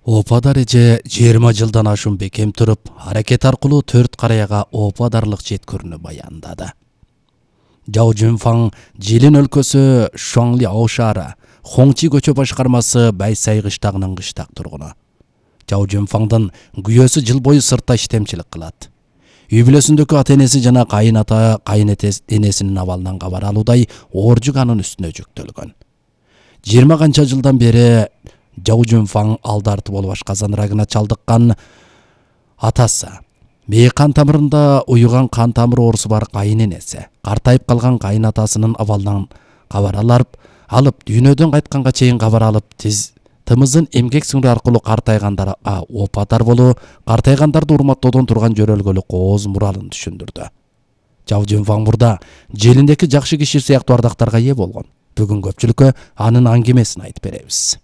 Опадар эже 20 жылдан ашуун бекем туруп, аракет аркылуу 4 караяга опадарлык жеткөрүүнү баяндады. Жао Жунфаң Жилин өлкөсү Шуаңли Аушара, Хоңчи көчө башкармасы Байсай кыштагынын кыштак тургуну. Жао Жунфаңдын күйөөсү жыл бою сыртта иштемчилик кылат. Үй бүлөсүндөгү ата-энеси жана кайын энесинин абалынан кабар алуудай оор жүк анын үстүнө жүктөлгөн. 20 канча жылдан бери Жао Жунфаң алдарты болуп ашказан рагына чалдыккан атасы, мээ кан тамырында уюган кан тамыр оорусу бар кайын энеси, картайып калган кайын атасынын абалынан кабар алып дүйнөдөн кайтканга чейин кабар алып, тымыздын эмгек сіңирүү аркылуу картайгандар опадар болуу, картайгандарды урматтоодон турган жөрөлгөлүк кооз муралын түшүндүрдү. Жао Жунфаң мурда желиндеки жакшы киши сыяктуу ардактарга ээ болгон. Бүгүн көпчүлүккө анын аңгемесин айтып беребиз.